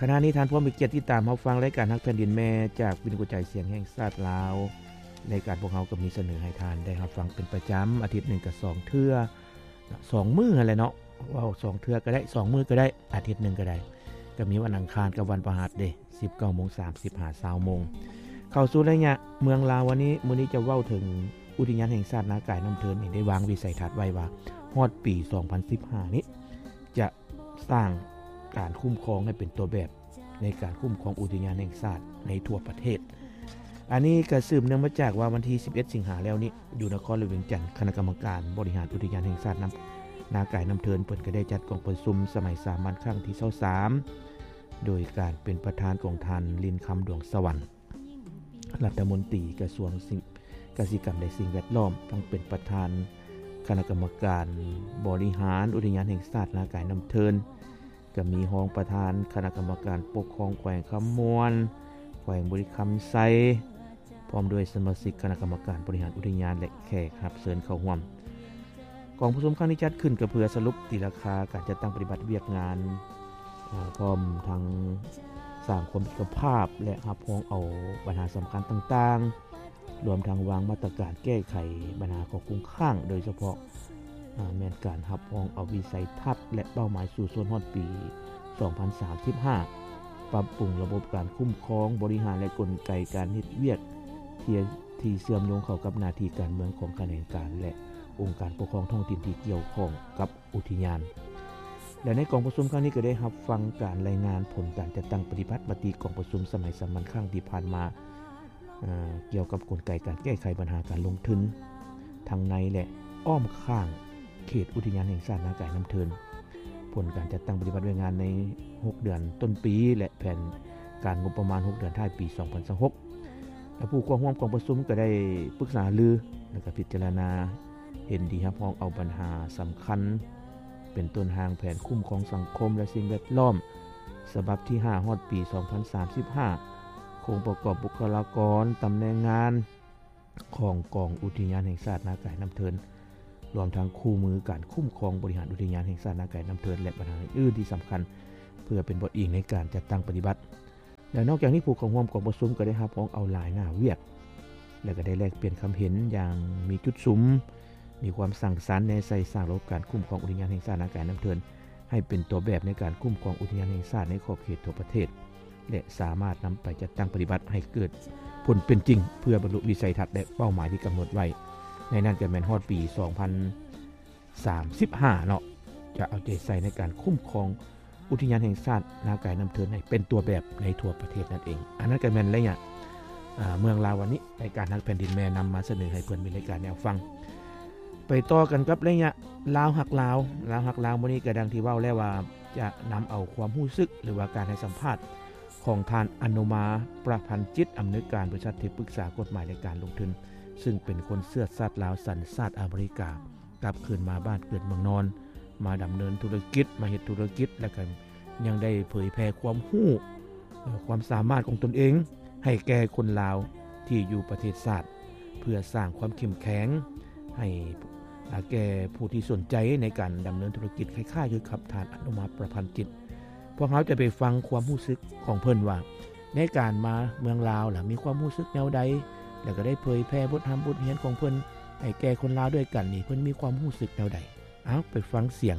ຂະນະນີ້ທ່ານພ້ອມເປັນກຽດຕິດຕາມຮັບຟັງລາຍການຮັກແຜ່ນດິນແມ່ຈາກວິທຍຸກະຈາຍສຽງແຫ່ງຊາດລາວ. ລາຍການພວກເຮົາກໍມີສະເໜີໃຫ້ທ່ານໄດ້ຮັບຟັງເປັນປະຈຳ ອາທິດໜຶ່ງກໍສອງເທື່ອ, ສອງມື້ຫັ້ນແຫຼະເນາະ, ເວົ້າສອງເທື່ອກໍໄດ້, ສອງມື້ກໍໄດ້, ອາທິດໜຶ່ງກໍໄດ້, ກໍມີວັນອັງຄານກັບວັນພະຫັດເດ້, ສິບເກົ້າໂມງສາມສິບຫາຊາວໂມງ. ເຂົ້າສູ່ໄລຍະເມືອງລາວວັນນີ້, ມື້ນີ້ຈະເວົ້າເຖິງອຸທິຍານແຫ່ງຊາດນາກາຍນ້ຳເທີນນີ້ ໄດ້ວາງວິໄສທັດໄວ້ວ່າ ຮອດປີສອງພັນສິບຫ້ານີ້ ຈະສ້າງການຄຸ້ມຄອງໃຫ້ເປັນຕົວແບບໃນການຄຸ້ມຄອງອຸທິຍານແຫ່ງຊາດໃນທົ່ວປະເທດ. ອັນນີ້ກໍສືບເນື່ອງມາຈາກວ່າວັນທີສິບເອັດສິງຫາແລ້ວນີ້ ຢູ່ນະຄອນຫຼວງວຽງຈັນ, ຄະນະກຳມະການບໍລິຫານອຸທິຍານແຫ່ງຊາດນ້ຳ ນາກາຍນ້ຳເທີນ ເພິ່ນກໍໄດ້ຈັດກອງປະຊຸມສະໄໝສາມັນຄັ້ງທີຊາວສາມ ໂດຍການເປັນປະທານຂອງທ່ານ ລິນຄຳ ດວງສະຫວັນ ລັດຖະມົນຕີກະຊວງກະສິກຳ ແລະ ສິ່ງແວດລ້ອມ, ທັງເປັນປະທານຄະນະກຳມະການບໍລິຫານອຸທິຍານແຫ່ງຊາດນາກາຍນ້ຳເທີນ, ກໍມີຮອງປະທານຄະນະກຳມະການປົກຄອງແຂວງຄຳມ່ວນ, ແຂວງບໍລິຄຳໄຊ, ພ້ອມດ້ວຍສະມາຊິກຄະນະກຳມະການບໍລິຫານອຸທິຍານ ແລະ ແຂກຮັບເຊີນເຂົ້າຮ່ວມ. ກອງປະຊຸມຄັ້ງນີ້ຈັດຂຶ້ນກໍເພື່ອສະຫຼຸບຕີລາຄາການຈັດຕັ້ງປະຕິບັດວຽກງານ, ເອີ່, ພ້ອມທັງສ້າງຄວາມເອກະພາບ ແລະ ຮັບຮອງເອົາບັນຫາສຳຄັນຕ່າງໆ, ລວມທັງວາງມາດຕະການແກ້ໄຂບັນຫາຂໍ້ຄົງຄ້າງ, ໂດຍສະເພາະ ອາ ແມ່ນການຮັບຮອງເອົາວິໄສທັດ ແລະ ເປົ້າໝາຍສູ້ຊົນຮອດປີສອງພັນສາມສິບຫ້າ, ປັບປຸງລະບົບການຄຸ້ມຄອງ, ບໍລິຫານ ແລະ ກົນໄກການເຮັດວຽກທີ່ ທີ່ເຊື່ອມໂຍງເຂົ້າກັບໜ້າທີ່ການເມືອງຂອງຂະແໜງການ ແລະ ອົງການປົກຄອງທ້ອງຖິ່ນທີ່ກ່ຽວຂ້ອງກັບອຸທິຍານ. ແລະ ໃນກອງປະຊຸມຄັ້ງນີ້ກໍໄດ້ຮັບຟັງການລາຍງານຜົນການຈັດຕັ້ງປະຕິບັດມະຕິກອງປະຊຸມສະໄໝສາມັນຄັ້ງທີ່ຜ່ານມາ ເອີ່ ກ່ຽວກັບກົນໄກການແກ້ໄຂບັນຫາການລົງທຶນທັງໃນ ແລະ ອ້ອມຂ້າງເຂດອຸທິຍານແຫ່ງຊາດນາກາຍນ້ຳເທີນ, ຜົນການຈັດຕັ້ງປະຕິບັດວຽກງານໃນຫົກເດືອນຕົ້ນປີ ແລະ ແຜນການງົບປະມານຫົກເດືອນທ້າຍປີສອງພັນຊາວຫົກ ແລະ ຜູ້ເຂົ້າຮ່ວມກອງປະຊຸມກໍໄດ້ປຶກສາຫາລື ແລະ ກໍພິຈາລະນາເຫັນດີຮັບຮອງເອົາບັນຫາສຳຄັນ ເປັນຕົ້ນຮ່າງແຜນຄຸ້ມຄອງສັງຄົມ ແລະ ສິ່ງແວດລ້ອມ ສະບັບທີຫ້າ ຮອດປີສອງພັນສາມສິບຫ້າ, ໂຄງປະກອບບຸກຄະລາກອນ, ຕຳແໜ່ງງານຂອງກອງອຸທິຍານແຫ່ງຊາດນາກາຍນ້ຳເທີນ, ລວມທັງຄູ່ມືການຄຸ້ມຄອງບໍລິຫານອຸທິຍານແຫ່ງຊາດນາກາຍນ້ຳເທີນ ແລະ ບັນຫາອື່ນໆທີ່ສຳຄັນ ເພື່ອເປັນບົດອີງໃນການຈັດຕັ້ງປະຕິບັດ. ແລະ ນອກຈາກນີ້ ຜູ້ເຂົ້າຮ່ວມກອງປະຊຸມກໍໄດ້ຮັບຮອງເອົາຫຼາຍໜ້າວຽກ ແລະ ກໍໄດ້ແລກປ່ຽນຄຳເຫັນຢ່າງມີຈຸດສຸມ, ມີຄວາມສ້າງສັນແນໃສ່ສ້າງລະບົບການຄຸ້ມຄອງອຸທິຍານແຫ່ງຊາດນາກາຍນ້ຳເທີນ ໃຫ້ເປັນຕົວແບບໃນການຄຸ້ມຄອງອຸທິຍານແຫ່ງຊາດໃນຂອບເຂດທົ່ວປະເທດ ແລະ ສາມາດນຳໄປຈັດຕັ້ງປະຕິບັດໃຫ້ເກີດຜົນເປັນຈິງ ເພື່ອບັນລຸວິໄສທັດ ແລະ ເປົ້າໝາຍທີ່ກຳນົດໄວ້, ໃນນັ້ນກໍແມ່ນຮອດປີສອງພັນ ສາມສິບຫ້າເນາະ ຈະເອົາໃຈໃສ່ໃນການຄຸ້ມຄອງອຸທິຍານແຫ່ງຊາດນາກາຍນ້ຳເທີນໃຫ້ເປັນຕົວແບບໃນທົ່ວປະເທດນັ້ນເອງ. ອັນນັ້ນກໍແມ່ນໄລຍະ ເອີ່ ເມືອງລາວວັນນີ້ ລາຍການຮັກແຜ່ນດິນແມ່ນຳມາສະເໜີໃຫ້ເພື່ອນມີລາຍການໄດ້ຟັງ. ໄປຕໍ່ກັນກັບໄລຍະລາວຮັກລາວ. ລາວຮັກລາວມື້ນີ້ກໍດັ່ງທີ່ເວົ້າແລ້ວວ່າ ຈະນຳເອົາຄວາມຮູ້ສຶກ ຫຼືວ່າການໃຫ້ສຳພາດຂອງທ່ານ ອະນຸມາ ປະພັນຈິດ ອຳນວຍການບໍລິສັດທີ່ປຶກສາກົດໝາຍ ແລະ ການລົງທຶນ ຊຶ່ງເປັນຄົນເຊື້ອຊາດລາວສັນຊາດອາເມລິກາ ກັບຄືນມາບ້ານເກີດເມືອງນອນ ມາດຳເນີນທຸລະກິດ, ມາເຮັດທຸລະກິດ ແລະ ກໍຍັງໄດ້ເຜີຍແຜ່ຄວາມຮູ້, ຄວາມສາມາດຂອງຕົນເອງໃຫ້ແກ່ຄົນລາວທີ່ຢູ່ປະເທດຊາດ ເພື່ອສ້າງຄວາມເຂັ້ມແຂງໃຫ້ ອາ ແກ່ຜູ້ທີ່ສົນໃຈໃນການດຳເນີນທຸລະກິດ ຄ້າຍໆຄືກັບທ່ານ ອະນຸມາ ປະພັນຈິດ. ພວກເຮົາຈະໄປຟັງຄວາມຮູ້ສຶກຂອງເພິ່ນວ່າ ໃນການມາເມືອງລາວລະມີຄວາມຮູ້ສຶກແນວໃດ ແລະ ກໍໄດ້ເຜີຍແຜ່ບົດຮ່ຳບົດຮຽນຂອງເພິ່ນໃຫ້ແກ່ຄົນລາວດ້ວຍກັນນີ້ ເພິ່ນມີຄວາມຮູ້ສຶກແນວໃດ? ເອົາ ໄປຟັງສຽງ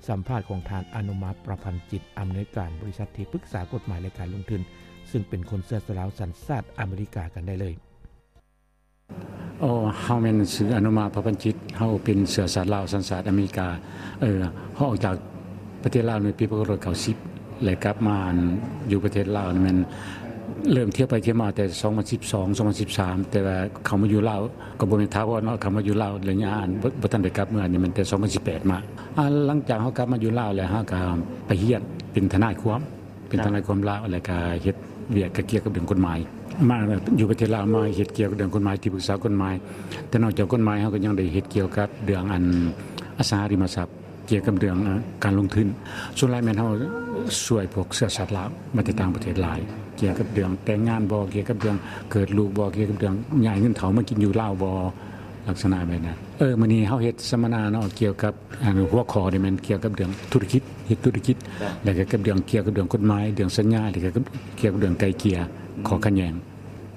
ສຳພາດຂອງທ່ານ ອະນຸມາ ປະພັນຈິດ ອຳນວຍການບໍລິສັດທີ່ປຶກສາກົດໝາຍ ແລະ ການລົງທຶນ ຊຶ່ງເປັນຄົນເຊື້ອຊາດລາວສັນຊາດອາເມລິກາກັນໄດ້ເລີຍ. ເຮົາແມ່ນຊື່ ອະນຸມາ ປະພັນຈິດ, ເຮົາເປັນເຊື້ອຊາດລາວສັນຊາດອາເມລິກາ. ເອີ ເຮົາອອກຈາກປະເທດລາວໃນປີພັນເກົ້າຮ້ອຍເກົ້າສິບ ແລະ ກັບມາຢູ່ປະເທດລາວນີ້ແມ່ນເລີ່ມທ່ຽວໄປທ່ຽວມາແຕ່ສອງພັນສິບສອງ ສອງພັນສິບສາມ ແຕ່ວ່າເຂົ້າມາຢູ່ລາວກໍບໍ່ແມ່ນຖາວອນເນາະ, ເຂົ້າມາຢູ່ລາວໄລຍະອັນ ບໍ່ ບໍ່ທັນໄດ້ກັບເມືອນີ້ແມ່ນແຕ່ສອງພັນສິບແປດມາ. ອາ ຫຼັງຈາກເຮົາກັບມາຢູ່ລາວແລ້ວ ເຮົາກໍໄປຮຽນເປັນທະນາຍຄວາມ ເປັນທະນາຍຄວາມລາວ ແລ້ວກໍເຮັດວຽກກ່ຽວກັບເລື່ອງກົດໝາຍ. ມາຢູ່ປະເທດລາວ ມາເຮັດກ່ຽວກັບເລື່ອງກົດໝາຍ ທີ່ປຶກສາກົດໝາຍ, ແຕ່ນອກຈາກກົດໝາຍ ເຮົາກໍຍັງໄດ້ເຮັດກ່ຽວກັບເລື່ອງອັນ ອະສັງຫາລິມະຊັບ, ກ່ຽວກັບເລື່ອງ ເອີ ການລົງທຶນ. ສ່ວນຫຼາຍແມ່ນເຮົາຊ່ວຍພວກເຊື້ອຊາດລາວມາແຕ່ຕ່າງປະເທດຫຼາຍ, ກ່ຽວກັບເລື່ອງແຕ່ງງານບໍ, ກ່ຽວກັບເລື່ອງເກີດລູກບໍ, ກ່ຽວກັບເລື່ອງຍ້າຍເງິນເຖົ້າມາກິນຢູ່ລາວບໍ, ລັກສະນະແບບນັ້ນ. ເອີ ມື້ນີ້ເຮົາເຮັດສຳມະນາເນາະ ກ່ຽວກັບ ອັນ ຫົວຂໍ້ນີ້ແມ່ນກ່ຽວກັບເລື່ອງທຸລະກິດ ເຮັດທຸລະກິດ ແລ້ວກໍກັບເລື່ອງ ກ່ຽວກັບເລື່ອງກົດໝາຍ ເລື່ອງສັນຍາ ແລ້ວກໍກັບ ກ່ຽວກັບເລື່ອງໄກ່ເກ່ຍ ອືມ ຂໍ້ຂັດແຍ່ງ.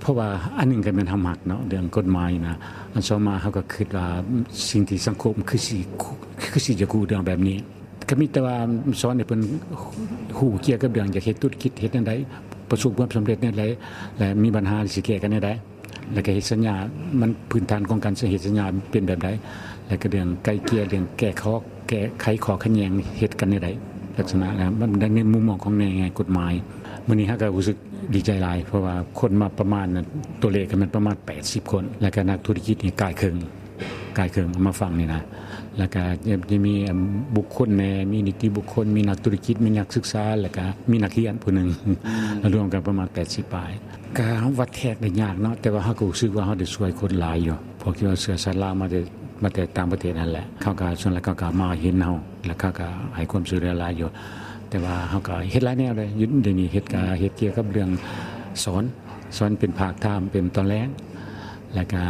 ເພາະວ່າອັນໜຶ່ງກໍແມ່ນເຮົາມັກເນາະ ເລື່ອງກົດໝາຍນະ, ອັນສອງມາເຮົາກໍຄິດວ່າ ສິ່ງທີ່ສັງຄົມຄືຊິ ຄືຊິຢາກຮູ້ເລື່ອງແບບນີ້ ກໍມີແຕ່ວ່າສອນໃຫ້ເພິ່ນຮູ້ກ່ຽວກັບເລື່ອງຢາກເຮັດທຸລະກິດເຮັດແນວໃດ ປະສົບຄວາມສຳເລັດແນວໃດ ແລະ ມີບັນຫາຊິແກ້ໄຂແນວໃດ ແລ້ວກໍເຮັດສັນຍາ ມັນພື້ນຖານຂອງການເຮັດສັນຍາເປັນແບບໃດ ແລ້ວກໍເລື່ອງໄກ່ເກ່ຍ ເລື່ອງແກ້ຂໍ້ ແກ້ໄຂຂໍ້ຂັດແຍ່ງເຮັດກັນແນວໃດ ລັກສະນະ ແລ້ວມັນໃນມຸມມອງຂອງແນວໃນກົດໝາຍ. ມື້ນີ້ເຮົາກໍຮູ້ສຶກດີໃຈຫຼາຍ ເພາະວ່າຄົນມາປະມານ ຕົວເລກກໍແມ່ນປະມານແປດສິບຄົນ ແລ້ວກໍນັກທຸລະກິດນີ້ກາຍເຄິ່ງ ກາຍເຄິ່ງເອົາມາຟັງນີ້ນະ ແລ້ວກະຈະ ຈະມີ ອາ ບຸກຄົນແດ່ ມີນິຕິບຸກຄົນ ມີນັກທຸລະກິດ ມີນັກສຶກສາ ແລ້ວກະມີນັກຮຽນຜູ້ໜຶ່ງ ອືມ ລວມກັນປະມານແປດສິບປາຍ. ກະວັດແທກໄດ້ຍາກເນາະ ແຕ່ວ່າເຮົາກໍຮູ້ສຶກວ່າເຮົາໄດ້ຊ່ວຍຄົນຫຼາຍຢູ່ ເພາະທີ່ວ່າເຊື້ອຊາດລາວມາແຕ່ ມາແຕ່ຕ່າງປະເທດຫັ້ນແຫຼະ ເຂົາກະ ສ່ວນຫຼາຍເຂົາກະມາເຫັນເຮົາ ແລ້ວເຂົາກະໃຫ້ຄວາມຊ່ວຍເຫຼືອຫຼາຍຢູ່. ແຕ່ວ່າເຮົາກະເຮັດຫຼາຍແນວເລີຍ ຢູ່ດຽວນີ້ເຮັດກະເຮັດກ່ຽວກັບເລື່ອງສອນ ສອນເປັນພາກທາມ ເປັນຕອນແລງ ແລ້ວກະ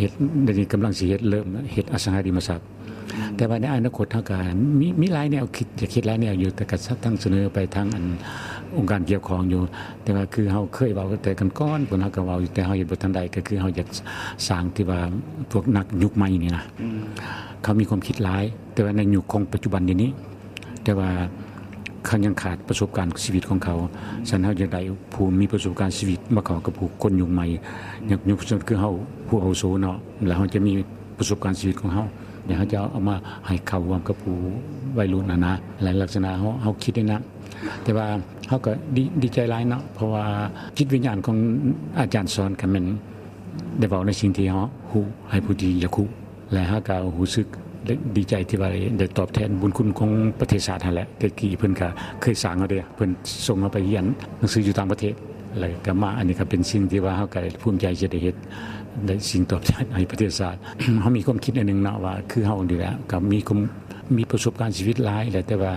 ເຮັດ ດຽວນີ້ກຳລັງຊິເຮັດ ເລີ່ມເຮັດອະສັງຫາລິມະຊັບ. ອືມ ແຕ່ວ່າໃນອະນາຄົດເຮົາກະມີ ມີຫຼາຍແນວຄິດ ຢາກເຮັດຫຼາຍແນວຢູ່ ແຕ່ກະທັງສະເໜີໄປທາງອັນອົງການກ່ຽວຂ້ອງຢູ່ ແຕ່ວ່າຄືເຮົາເຄີຍເວົ້າແຕ່ກ່ອນໆ ເພິ່ນເຮົາກະເວົ້າຢູ່ ແຕ່ເຮົາເຮັດບໍ່ທັນໄດ້ ກະຄືເຮົາຢາກສ້າງທີ່ວ່າພວກນັກຍຸກໃໝ່ນີ້ນະ ອືມ ເຂົາມີຄວາມຄິດຫຼາຍ ແຕ່ວ່າໃນຍຸກຂອງປັດຈຸບັນດຽວນີ້ ແຕ່ວ່າເຂົາຍັງຂາດປະສົບການຊີວິດຂອງເຂົາ. ອືມ ສະນັ້ນເຮົາຢາກໄດ້ຜູ້ມີປະສົບການຊີວິດມາເຂົ້າກັບຜູ້ຄົນຍຸກໃໝ່ ອືມ ຍຸກ ຍຸກ ຄືເຮົາຜູ້ອາວຸໂສເນາະ ແລ້ວເຮົາຈະມີປະສົບການຊີວິດຂອງເຮົາ ແລ້ວເຮົາຈະເອົາມາໃຫ້ເຂົ້າຮ່ວມກັບຜູ້ໄວລຸ້ນຫັ້ນນະ ແລະ ລັກສະນະເຮົາ ເຮົາຄິດໄດ້ນະ. ແຕ່ວ່າເຮົາກໍດີ ດີໃຈຫຼາຍເນາະ ເພາະວ່າຈິດວິນຍານຂອງອາຈານສອນກໍແມ່ນ ໄດ້ເວົ້າໃນສິ່ງທີ່ເຮົາຮູ້ໃຫ້ຜູ້ທີ່ຢາກຮູ້ ແລະ ເຮົາກໍຮູ້ສຶກໄດ້ ດີໃຈທີ່ວ່າໄດ້ ໄດ້ຕອບແທນບຸນຄຸນຂອງປະເທດຊາດຫັ້ນແຫຼະ. ແຕ່ກີ້ເພິ່ນກໍເຄີຍສ້າງເຮົາເດ້ ເພິ່ນສົ່ງເຮົາໄປຮຽນໜັງສືຢູ່ຕ່າງປະເທດ ແລ້ວກໍມາ ອັນນີ້ກໍເປັນສິ່ງທີ່ວ່າເຮົາກໍໄດ້ພູມໃຈທີ່ໄດ້ເຮັດ ໄດ້ສິ່ງຕອບແທນໃຫ້ປະເທດຊາດ. ເຮົາມີຄວາມຄິດອັນໜຶ່ງເນາະ ວ່າຄືເຮົານີ້ແຫຼະ ກໍມີຄວາມ ມີປະສົບການຊີວິດຫຼາຍແຫຼະ ແຕ່ວ່າ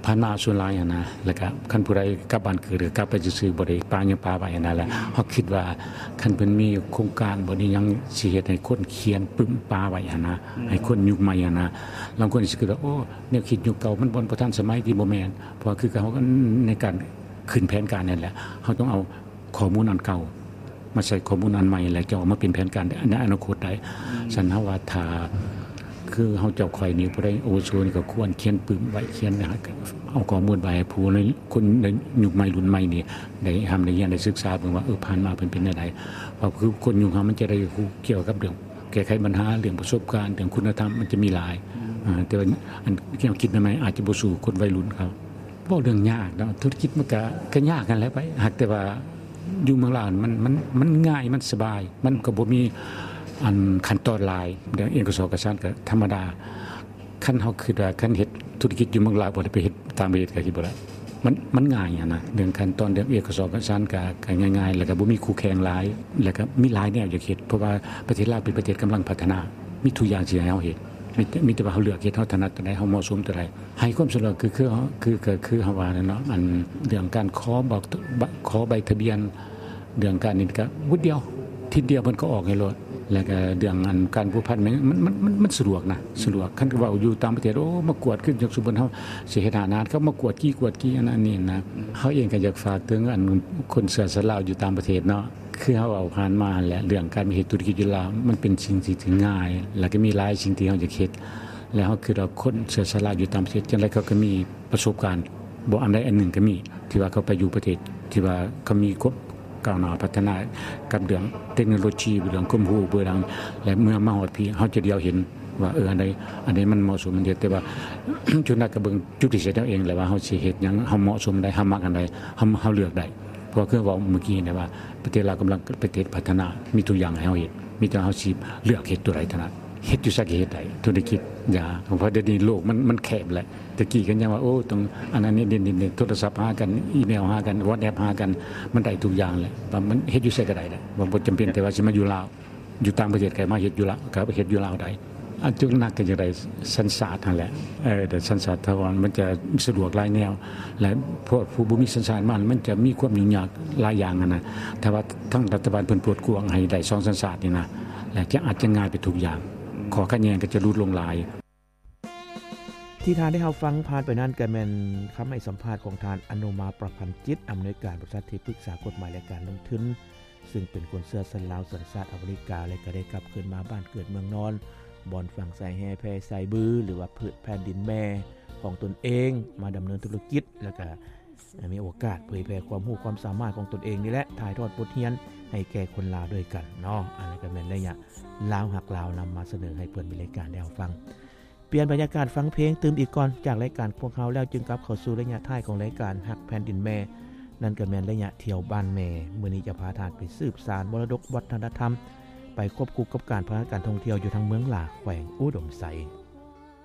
ຜ່ານມາສ່ວນຫຼາຍຫັ້ນນະ ແລ້ວກະຄັນຜູ້ໃດກັບບ້ານເກີດ ກໍກັບໄປຊື່ໆ ບໍ່ໄດ້ປະຫຍັງປະໄວ້ຫັ້ນນະ. ແລ້ວເຮົາຄິດວ່າຄັນເພິ່ນມີໂຄງການບໍ່ນີ້ຫຍັງ ຊິເຮັດໃຫ້ຄົນຂຽນປຶ້ມປະໄວ້ຫັ້ນນະ ອືມ ໃຫ້ຄົນຍຸກໃໝ່ຫັ້ນນະ. ລາງຄົນຊິຄິດວ່າ ໂອ້ ແນວຄິດຍຸກເກົ່າມັນບໍ່ ບໍ່ທັນສະໄໝ ທີ່ບໍ່ແມ່ນ ເພາະວ່າຄືເຮົາໃນການຂຶ້ນແຜນການນັ້ນແຫຼະ ເຮົາຕ້ອງເອົາ ຂໍ້ມູນອັນເກົ່າມາໃສ່ຂໍ້ມູນອັນໃໝ່ ແລ້ວຈະເອົາມາເປັນແຜນການໃນອະນາຄົດໄດ້. ອືມ ສະນັ້ນເຮົາວ່າຖ້າ ຄືເຮົາເຈົ້າຂ້ອຍນີ້ ຜູ້ໃດອາວຸໂສນີ້ກໍຄວນຂຽນປຶ້ມໄວ້ ຂຽນ ເອົາຂໍ້ມູນໄປໃຫ້ຜູ້ໃນ ຄົນໃນຍຸກໃໝ່ລຸ້ນໃໝ່ນີ້ໄດ້ຮ່ຳໄດ້ຮຽນໄດ້ສຶກສາເບິ່ງວ່າ ເອີ ຜ່ານມາເພິ່ນເປັນແນວໃດ. ເພາະຄືຄົນຍຸກເຮົາມັນຈະໄດ້ຮູ້ກ່ຽວກັບເລື່ອງແກ້ໄຂບັນຫາ ເລື່ອງປະສົບການ ເລື່ອງຄຸນນະທຳ ມັນຈະມີຫຼາຍ. ອືມ ອ່າ ແຕ່ວ່າອັນແນວຄິດໃໝ່ໆ ອາດຈະບໍ່ສູ້ຄົນໄວລຸ້ນເຂົາ. ເວົ້າເລື່ອງຍາກເນາະ ທຸລະກິດມັນກະ ກະຍາກຫັ້ນແຫຼະ ໄປ ຫາກແຕ່ວ່າຢູ່ເມືອງລາວມັນ ມັນ ມັນງ່າຍ ມັນສະບາຍ ມັນກໍບໍ່ມີອັນຂັ້ນຕອນຫຼາຍ. ເລື່ອງເອກະສອນເອກະສານກະທຳມະດາ. ຄັນເຮົາຄິດວ່າຄັນເຮັດທຸລະກິດຢູ່ເມືອງລາວ ບໍ່ໄດ້ໄປເຮັດຕ່າງປະເທດກະເຮັດບໍ່ໄດ້ ມັນ ມັນງ່າຍຫັ້ນນະ. ເລື່ອງຂັ້ນຕອນ ເລື່ອງເອກະສອນເອກະສານກະ ກະງ່າຍໆ ແລ້ວກະບໍ່ມີຄູ່ແຂ່ງຫຼາຍ ແລ້ວກະມີຫຼາຍແນວຢາກເຮັດ ເພາະວ່າປະເທດລາວເປັນປະເທດກຳລັງພັດທະນາ ມີທຸກຢ່າງທີ່ໃຫ້ເຮົາເຮັດ ມີແຕ່ ມີແຕ່ວ່າເຮົາເລືອກເຮັດ ເຮົາຖະໜັດຕົວໃດ ເຮົາເໝາະສົມຕົວໃດ. ໃຫ້ຄວາມສະດວກ ຄື ຄືເຮົາ ຄື ຄື ຄືເຮົາວ່ານັ້ນເນາະ ອັນເລື່ອງການຂໍບອກ ຂໍໃບທະບຽນ ເລື່ອງການນີ້ກະວຸດດຽວ ທິດດຽວເພິ່ນກໍອອກໃຫ້ໂລດ. ແລ້ວກະເລື່ອງອັນການພົວພັນ ມັນ ມັນ ມັນ ມັນສະດວກນະ ສະດວກ. ຄັນເວົ້າຢູ່ຕ່າງປະເທດ ໂອ້ ມາກວດ ຄືຍົກສົມມຸດເຮົາຊິເຮັດຮ້ານອາຫານ ເຂົາມາກວດກີ່ ກວດກີ່ ອັນນັ້ນນີ້ນະ. ເຮົາເອງກະຢາກຝາກເຖິງອັນຄົນເຊື້ອຊາດລາວຢູ່ຕ່າງປະເທດເນາະ ຄືເຮົາເວົ້າຜ່ານມາຫັ້ນແຫຼະ ເລື່ອງການເຮັດທຸລະກິດຢູ່ລາວ ມັນເປັນສິ່ງທີ່ ທີ່ງ່າຍ ແລ້ວກໍມີຫຼາຍສິ່ງທີ່ເຮົາຢາກເຮັດ ແລ້ວເຮົາຄິດວ່າຄົນເຊື້ອຊາດລາວຢູ່ຕ່າງປະເທດ ຈັ່ງໃດເຂົາກໍມີປະສົບການ ບໍ່ອັນໃດອັນໜຶ່ງກໍມີ ທີ່ວ່າເຂົາໄປຢູ່ປະເທດທີ່ວ່າເຂົາມີຄວາມກ້າວໜ້າພັດທະນາກັບເລື່ອງເຕັກໂນໂລຊີ ເລື່ອງຄວາມຮູ້ ເລື່ອງ ແລະ ເມື່ອມາຮອດພີ້ ເຮົາຈະດຽວເຫັນວ່າ ເອີ ອັນໃດ ອັນໃດມັນເໝາະສົມ ອັນໃດ ແຕ່ວ່າ ສ່ວນຫຼາຍກໍເບິ່ງຈຸດພິເສດເຮົາເອງແຫຼະ ວ່າເຮົາຊິເຮັດຫຍັງ ເຮົາເໝາະສົມອັນໃດ ເຮົາມັກອັນໃດ ເຮົາ ເຮົາເລືອກໄດ້. ເພາະວ່າຄືເວົ້າມື້ກີ້ນີ້ວ່າ ປະເທດລາວກຳລັງປະເທດພັດທະນາ ມີທຸກຢ່າງໃຫ້ເຮົາເຮັດ ມີແຕ່ເຮົາຊິເລືອກເຮັດຕົວໃດເທົ່ານັ້ນ ເຮັດຢູ່ໃສກໍເຮັດໄດ້ ທຸລະກິດຢາ ເພາະດຽວນີ້ໂລກມັນ ມັນແຄບແຫຼະ. ແຕ່ກີ້ກໍຍັງວ່າ ໂອ້ ຕ້ອງອັນນັ້ນນີ້ ໂທລະສັບຫາກັນ ອີເມວຫາກັນ ວອດແອັບຫາກັນ ມັນໄດ້ທຸກຢ່າງແຫຼະ ວ່າມັນເຮັດຢູ່ໃສກໍໄດ້ແຫຼະ ວ່າບໍ່ຈຳເປັນແຕ່ວ່າຊິມາຢູ່ລາວ ຢູ່ຕ່າງປະເທດກໍມາເຮັດຢູ່ລາວ ກໍເຮັດຢູ່ລາວໄດ້. ອັນຈຸດໜັກກໍຢາກໄດ້ສັນຊາດຫັ້ນແຫຼະ ເອີ ໄດ້ສັນຊາດຖາວອນ ມັນຈະສະດວກຫຼາຍແນວ ແລະ ພວກຜູ້ບໍ່ມີສັນຊາດມາ ມັນຈະມີຄວາມຫຍຸ້ງຍາກຫຼາຍຢ່າງຫັ້ນນະ. ຖ້າວ່າທາງລັດຖະບານເພິ່ນເປີດກວ້າງໃຫ້ໄດ້ສອງສັນຊາດນີ້ນະ ຈະອາດຈະງ່າຍໄປທຸກຢ່າງ ຂໍ້ຂັດແຍ່ງກໍຈະຫຼຸດລົງຫຼາຍ. ທີ່ທ່ານໄດ້ຮັບຟັງຜ່ານໄປນັ້ນ ກໍແມ່ນຄຳໃຫ້ສຳພາດຂອງທ່ານ ອະນຸມາ ປະພັນຈິດ ອຳນວຍການບໍລິສັດທີ່ປຶກສາກົດໝາຍ ແລະ ການລົງທຶນ ຊຶ່ງເປັນຄົນເຊື້ອຊາດລາວ ສັນຊາດອາເມລິກາ ແລະ ກໍໄດ້ກັບຄືນມາບ້ານເກີດເມືອງນອນ ບ່ອນຝັງສາຍແຮ່ແຜ່ສາຍບື ຫຼືວ່າພືດແຜ່ນດິນແມ່ຂອງຕົນເອງ ມາດຳເນີນທຸລະກິດ ແລະ ກໍ ມີໂອກາດເຜີຍແຜ່ຄວາມຮູ້ຄວາມສາມາດຂອງຕົນເອງນີ້ແຫຼະ ຖ່າຍທອດບົດຮຽນໃຫ້ແກ່ຄົນລາວດ້ວຍກັນເນາະ. ອັນນັ້ນກໍແມ່ນໄລຍະລາວຮັກລາວ ນຳມາສະເໜີໃຫ້ເພື່ອນເບິ່ງລາຍການໄດ້ຮັບຟັງ. ປ່ຽນບັນຍາກາດຟັງເພງຕື່ມອີກກ່ອນ ຈາກລາຍການພວກເຮົາແລ້ວ ຈຶ່ງກັບເຂົ້າສູ່ໄລຍະທ້າຍຂອງລາຍການຮັກແຜ່ນດິນແມ່ ນັ້ນກໍແມ່ນໄລຍະທ່ຽວບ້ານແມ່. ມື້ນີ້ຈະພາທ່ານໄປສືບສານມໍລະດົກວັດທະນະທຳ ໄປຄວບຄູ່ກັບການພັດທະນາການທ່ອງທ່ຽວຢູ່ທາງເມືອງຫຼາ ແຂວງອຸດົມໄຊ.